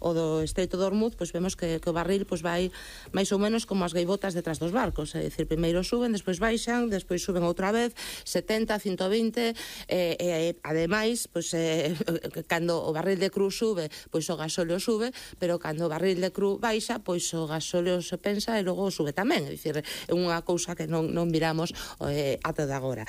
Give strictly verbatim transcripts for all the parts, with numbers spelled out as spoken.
o do Estreito de Hormuz, pois vemos que, que o barril pois vai máis ou menos como as gaivotas detrás dos barcos, é dicir, primeiro suben, despois baixan, despois suben outra vez, setenta, ciento vinte, e, e ademais, pois eh, cando o barril de cru sube, pois o gasóleo sube, pero cando o barril de cru baixa, pois o gasóleo se pensa e logo sube tamén, é dicir, é unha cousa que non, non miramos eh, ata de agora.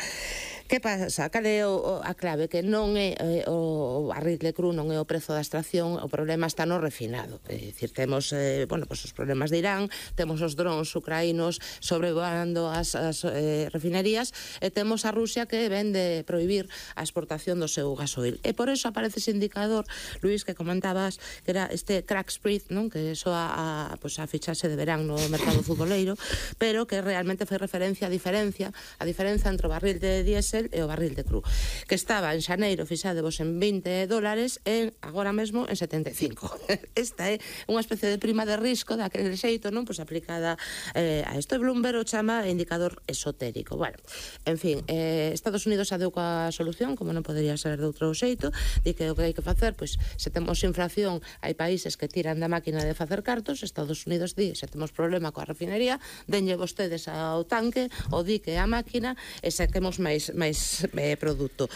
Que pasa? Cal é o, a clave? Que non é eh, o barril de cru, non é o prezo da extracción, o problema está no refinado. É dicir, temos eh, bueno, pues os problemas de Irán, temos os drones ucraínos sobrevoando as, as eh, refinerías, e temos a Rusia que vende prohibir a exportación do seu gasoil. E por eso aparece ese indicador, Luís, que comentabas, que era este crack spread, non? Que soa a, pues, a fichase de verán no mercado futboleiro, pero que realmente fai referencia a diferencia, a diferenza entre o barril de diésel e o barril de cru, que estaba en xaneiro fixadevos en vinte dólares e agora mesmo en setenta e cinco. Esta é unha especie de prima de risco daquele xeito, non? Pois aplicada eh, a isto. Bloomberg o chama indicador esotérico. Bueno, en fin, eh, Estados Unidos adeu coa solución, como non podería ser de outro xeito, di que o que hai que facer, pois se temos inflación, hai países que tiran da máquina de facer cartos, Estados Unidos di, se temos problema coa refinería, denlle vostedes ao tanque, o dique a máquina, e saquemos máis máis eh, produto.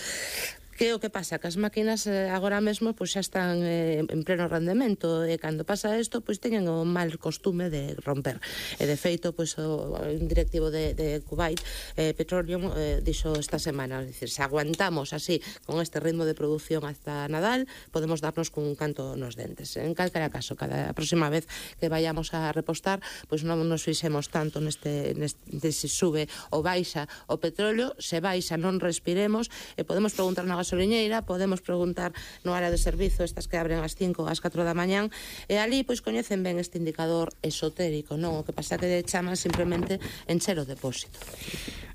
Que o que pasa? Que as máquinas eh, agora mesmo pois xa están eh, en pleno rendemento, e cando pasa isto pois teñen o mal costume de romper. E de feito pois o un directivo de, de Kuwait eh, Petroleum eh, dixo esta semana, es decir, se aguantamos así con este ritmo de produción hasta Nadal, podemos darnos con un canto nos dentes. En calquera caso, cada próxima vez que vayamos a repostar, pois non nos fixemos tanto neste, neste se sube ou baixa o petróleo, se baixa non respiremos, e podemos preguntar na gasoliñeira, podemos preguntar no área de servizo, estas que abren ás cinco, ás catro da mañán, e ali pois coñecen ben este indicador esotérico, non? O que pasa que chaman simplemente encher o depósito.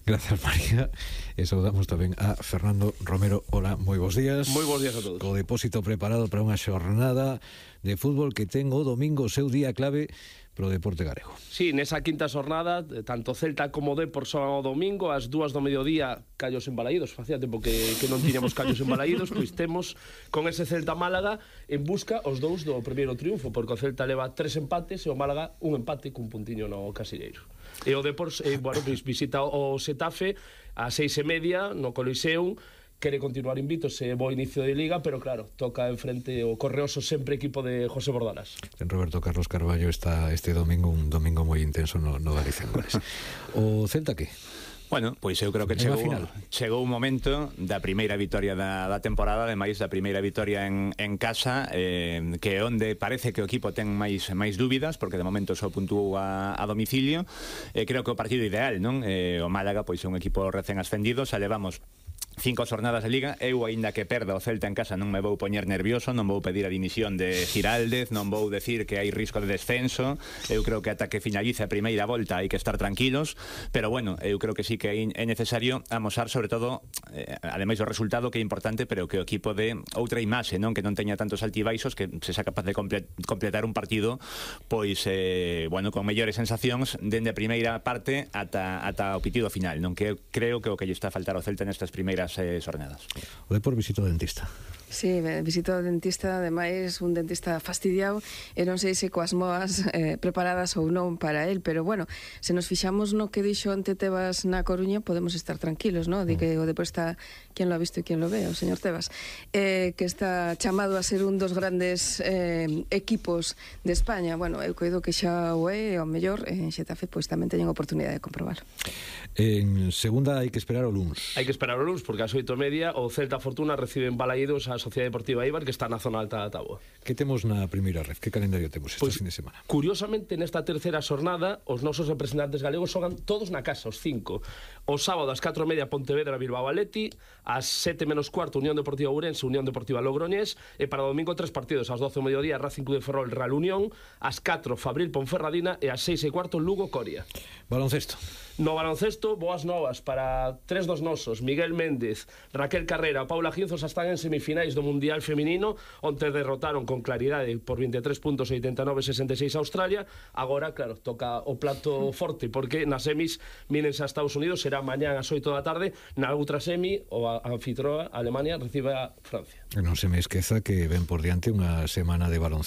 Gracias, María. E saudamos tamén a Fernando Romero. Hola, moi bons días. Moi bons días a todos. Co depósito preparado para unha xornada de fútbol que ten o domingo o seu día clave pro deporte galego. Sí, nesa quinta xornada, tanto Celta como Depor son o domingo, ás dúas do mediodía, Callos en Balaídos. Facía tempo que, que non tiñamos Callos en Balaídos, pois temos con ese Celta Málaga en busca os dous do primeiro triunfo, porque o Celta leva tres empates e o Málaga un empate cun puntiño no Casilleiro. E o Depor, eh, bueno, visita o Xetafe a seis e media no Coliseum, quere continuar invicto, se bo inicio de Liga, pero claro, toca enfrente o correoso sempre equipo de José Bordalas. En Roberto Carlos Carballo está este domingo, un domingo moi intenso no, no Galicia en Goles. O Celta que? Bueno, pois eu creo que chegou, chegou un momento da primeira vitoria da, da temporada, ademais da primeira vitoria en, en casa, eh, que onde parece que o equipo ten máis máis dúbidas, porque de momento só puntuou a, a domicilio. Eh, creo que o partido ideal, non? Eh, o Málaga pois é un equipo recén ascendido, xa levamos cinco xornadas de Liga. Eu, aínda que perda o Celta en casa, non me vou poñer nervioso, non vou pedir a dimisión de Giraldez, non vou decir que hai risco de descenso. Eu creo que ata que finalice a primeira volta hai que estar tranquilos, pero bueno, eu creo que sí que é necesario amosar, sobre todo, eh, ademais do resultado, que é importante, pero que o equipo de outra imaxe, non? Que non teña tantos altibaixos, que se xa capaz de comple completar un partido pois, eh, bueno, con mellores sensacións dende a primeira parte ata, ata o pitido final, non? Que creo que o que lle está a faltar ao Celta nestas primeiras eh, xornadas. O Depor visito o dentista. Sí, visito o dentista, ademais un dentista fastidiado, e non sei se coas moas eh, preparadas ou non para el, pero bueno, se nos fixamos no que dixo ante Tebas na Coruña, podemos estar tranquilos, ¿no? Di que o Depor está, quen lo ha visto e quen lo ve, o señor Tebas, eh, que está chamado a ser un dos grandes eh, equipos de España. Bueno, eu coido que xa o é, o mellor en Xetafe pois tamén teñen oportunidade de comprobar. En segunda hai que esperar o luns. Hai que esperar o luns, porque ás oito e media o Celta Fortuna recibe en Balaídos a Sociedade Deportiva Eibar, que está na zona alta da táboa. Que temos na primeira ref? Que calendario temos esta Pois, fin de semana? Curiosamente, nesta terceira xornada, os nosos representantes galegos xogan todos na casa, os cinco. O sábado, ás catro e media, Pontevedra, Bilbao, Atleti. Ás sete menos cuarto, Unión Deportiva Ourense, Unión Deportiva Logroñés. E para o domingo, tres partidos. Ás doce do mediodía, Racing Club de Ferrol, Real Unión. Ás catro, Fabril, Ponferradina. E ás seis e cuarto, Lugo, Coria. Baloncesto. No baloncesto, boas novas para tres dos nosos, Miguel Méndez, Raquel Carrera, Paula Ginzos, están en semifinais do Mundial Feminino, onde derrotaron con claridade por vinte e tres puntos, oitenta e nove a sesenta e seis a Australia. Agora, claro, toca o plato forte, porque nas semis mírense a Estados Unidos, será será mañán ás oito da tarde. Na outra semi, o a anfitroa, Alemania, recibe a Francia. Non se me esqueza que ven por diante unha semana de baloncesto